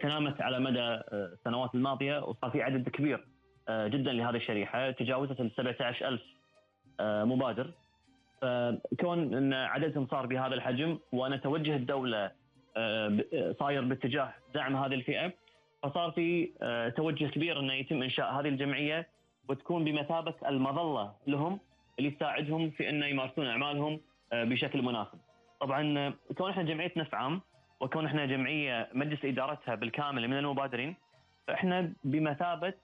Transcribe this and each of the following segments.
تنامت على مدى السنوات الماضية، وصار في عدد كبير جدا لهذه الشريحة، تجاوزت 17,000 مبادر. فكون أن عددهم صار بهذا الحجم، وأنا توجه الدولة صاير باتجاه دعم هذه الفئة، فصار في توجه كبير أنه يتم إنشاء هذه الجمعية وتكون بمثابة المظلة لهم، اللي تساعدهم في أن يمارسون أعمالهم بشكل مناسب. طبعا كون إحنا جمعية نفع عام، وكون إحنا جمعية مجلس إدارتها بالكامل من المبادرين، فإحنا بمثابة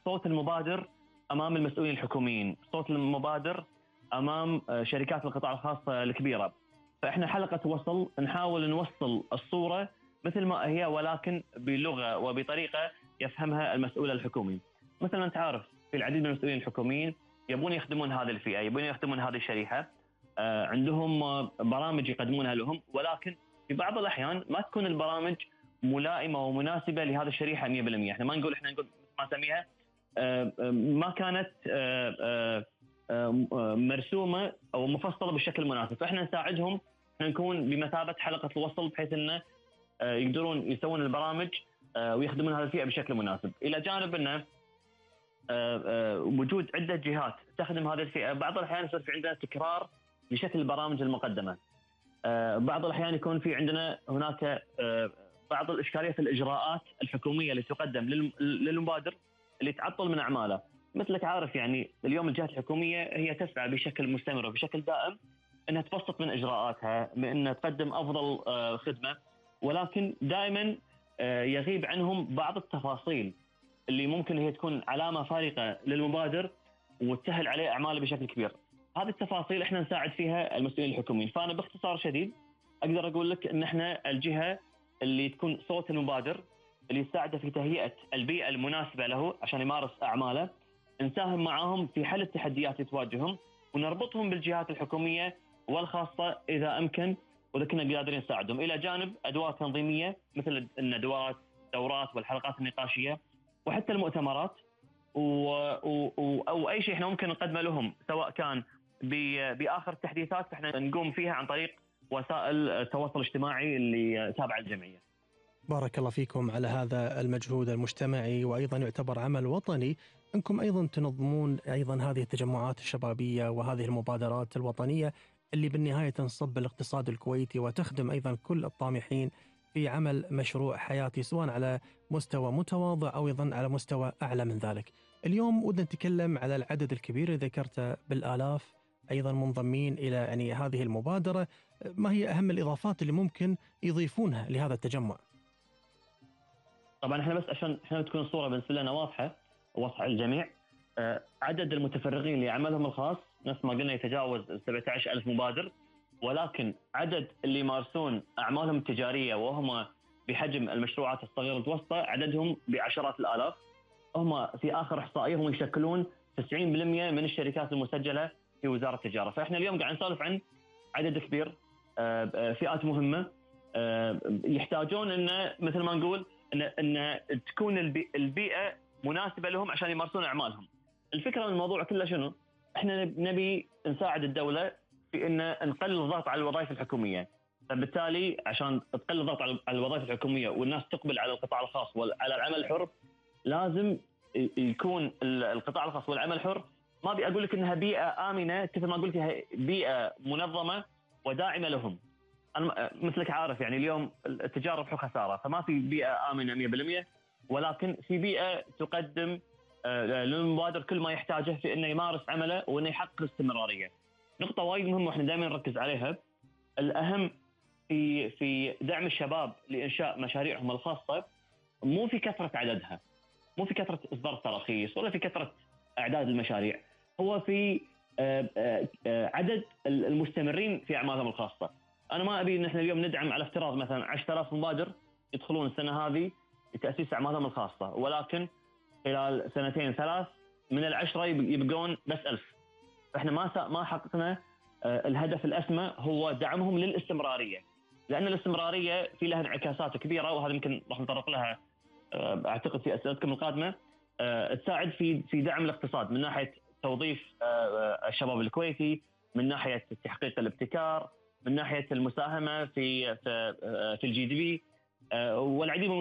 صوت المبادر أمام المسؤولين الحكوميين، صوت المبادر أمام شركات القطاع الخاص الكبيرة. فإحنا حلقة وصل، نحاول نوصل الصورة مثل ما هي، ولكن بلغة وبطريقة يفهمها المسؤول الحكومي. مثلا أنت عارف في العديد من المسؤولين الحكوميين يبون يخدمون هذه الفئة، يبون يخدمون هذه الشريحة، عندهم برامج يقدمونها لهم، ولكن في بعض الأحيان ما تكون البرامج ملائمة ومناسبة لهذه الشريحة 100%. احنا ما نقول، احنا نقول ما نسميها ما كانت مرسومة أو مفصلة بالشكل المناسب. فإحنا نساعدهم، نكون بمثابة حلقة الوصل، بحيث أنه يقدرون يسوون البرامج ويخدمون هذه الفئة بشكل مناسب. إلى جانب أنه وجود عدة جهات تخدم هذه الفئة، بعض الأحيان يصير في عندنا تكرار لشكل البرامج المقدمة. بعض الأحيان يكون في عندنا هناك بعض الإشكالية في الإجراءات الحكومية اللي تقدم للمبادر اللي تعطل من أعماله. مثلك عارف يعني اليوم الجهات الحكومية هي تسعى بشكل مستمر وبشكل دائم أنها تبسط من إجراءاتها، من أنها تقدم أفضل خدمة، ولكن دائما يغيب عنهم بعض التفاصيل اللي ممكن هي تكون علامة فارقة للمبادر وتسهل عليه أعماله بشكل كبير. هذه التفاصيل إحنا نساعد فيها المسؤولين الحكوميين. فأنا باختصار شديد أقدر أقول لك أن إحنا الجهة اللي تكون صوت المبادر، اللي يساعده في تهيئة البيئة المناسبة له عشان يمارس أعماله، نساهم معهم في حل التحديات اللي تواجههم، ونربطهم بالجهات الحكومية والخاصة إذا أمكن، وإذا كنا قادرين نساعدهم، إلى جانب أدوات تنظيمية مثل الندوات، الدورات والحلقات النقاشية، وحتى المؤتمرات أو أي شيء إحنا ممكن نقدمه لهم، سواء كان بآخر التحديثات إحنا نقوم فيها عن طريق وسائل التواصل الاجتماعي اللي تابعة الجمعية. بارك الله فيكم على هذا المجهود المجتمعي، وأيضا يعتبر عمل وطني أنكم أيضا تنظمون أيضا هذه التجمعات الشبابية وهذه المبادرات الوطنية اللي بالنهاية تنصب الاقتصاد الكويتي وتخدم أيضا كل الطامحين في عمل مشروع حياتي، سواء على مستوى متواضع أو أيضا على مستوى أعلى من ذلك. اليوم ودنا نتكلم على العدد الكبير اللي ذكرته بالآلاف أيضا منضمين إلى يعني هذه المبادرة. ما هي أهم الإضافات اللي ممكن يضيفونها لهذا التجمع؟ طبعا احنا بس عشان احنا تكون الصورة بالنسبة لنا واضحة الجميع، عدد المتفرغين لعملهم الخاص نفس ما قلنا يتجاوز 17,000 مبادر، ولكن عدد اللي يمارسون أعمالهم التجارية وهم بحجم المشروعات الصغيرة والمتوسطة عددهم بعشرات الآلاف. هم في آخر إحصائية هم يشكلون 90% من الشركات المسجلة في وزارة التجارة. فإحنا اليوم قاعد نسولف عن عدد كبير، فئات مهمة يحتاجون إن مثل ما نقول إن تكون البيئة مناسبة لهم عشان يمارسون أعمالهم. الفكرة من الموضوع كله شنو؟ إحنا نبي نساعد الدولة في إن نقلل الضغط على الوظائف الحكومية. فبالتالي عشان تقلل الضغط على الوظائف الحكومية والناس تقبل على القطاع الخاص وعلى العمل الحر، لازم يكون القطاع الخاص والعمل الحر، ما أبي أقول لك إنها بيئة آمنة مثل ما قلت، بيئة منظمة وداعمة لهم. أنا مثلك عارف يعني اليوم التجارة ربح وخسارة، فما في بيئة آمنة 100%، ولكن في بيئة تقدم للمبادر كل ما يحتاجه في إنه يمارس عمله وإنه يحقق استمرارية. نقطة وايد مهمة وإحنا دائما نركز عليها، الأهم في دعم الشباب لإنشاء مشاريعهم الخاصة، مو في كثرة عددها، مو في كثرة إصدار التراخيص ولا في كثرة أعداد المشاريع، هو في عدد المستمرين في أعمالهم الخاصة. أنا ما أبي إن إحنا اليوم ندعم على افتراض مثلا 10,000 مبادر يدخلون السنة هذه لتأسيس أعمالهم الخاصة، ولكن خلال 2-3 من 10 يبقون بس 1000. فإحنا ما حققنا الهدف الأسمى، هو دعمهم للاستمرارية، لأن الاستمرارية في لها انعكاسات كبيرة، وهذا يمكن راح نتطرق لها أعتقد في أسئلتكم القادمة. تساعد في دعم الاقتصاد من ناحية توظيف الشباب الكويتي، من ناحية تحقيق الابتكار، من ناحية المساهمة في الجي دي بي، والعديد من